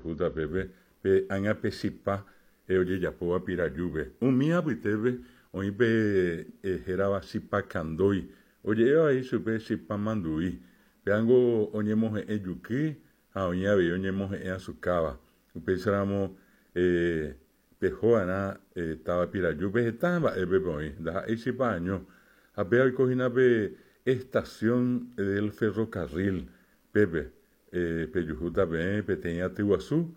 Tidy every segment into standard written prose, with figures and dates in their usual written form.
pejuhúta pépe pe ág̃a pe chipa ojejapóva Pirajúpe. Umi apytépe oĩ pe hérava chipa kandói, oje'éva avei chupe chipa mandu'i. Péango oñemohe'ẽ juky ha oĩ avei oñemohe'ẽ asukáva. Upéicharamo pehova'erã táva Pirajúpe heta mba'épe oĩ, ndaha'éi chipa año. Ha péva oiko hína pe estación del ferrocarril pépe pejuhúta peẽ peteĩ aty guasu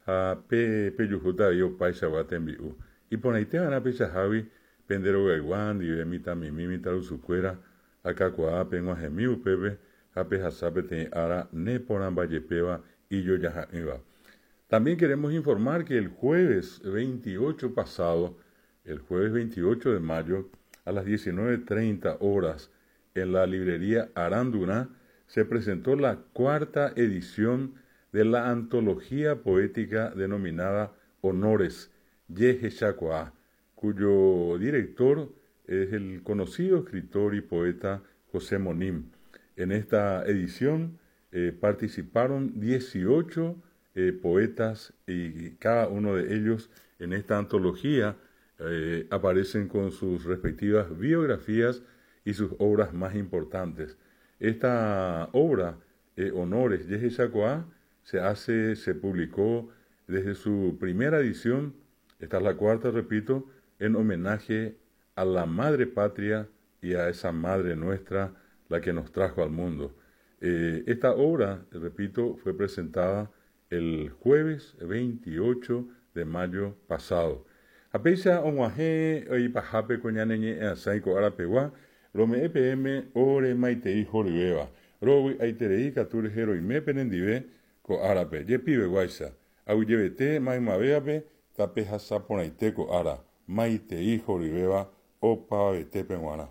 ha pe pejuhúta avei opaichagua tembi'u. Iporãiteva'erã peichahágui pende rogaygua ndive mitãmimi mitãrusukuéra akakuaa peg̃uahẽmi upépe ha pehasa peteĩ ára neporãmbajepéva ijojaha'ỹva. También queremos informar que el jueves 28 pasado, el jueves 28 de mayo, a las 19:30 horas, en la librería Arandurá, se presentó la cuarta edición de la antología poética denominada Honores Yehechakuaa, cuyo director es el conocido escritor y poeta José Monim. En esta edición participaron 18 poetas y cada uno de ellos en esta antología aparecen con sus respectivas biografías y sus obras más importantes. Esta obra, Honores Yehechakuaa, se publicó desde su primera edición, esta es la cuarta, repito, en homenaje a la madre patria y a esa madre nuestra, la que nos trajo al mundo. Esta obra, repito, fue presentada el jueves 28 de mayo pasado. Ha péicha og̃uahẽ ipahápe ko ñane ñe'ẽasãi ko arapegua, rome'ẽ peẽme ore maitei horyvéva. Rovy'aiterei katu rehe roime penendive ko árape, jepiveguáicha. Aguyjevete maymavévape tapehasa porãite ko ára, maitei horyvéva opavavetépe g̃uarã.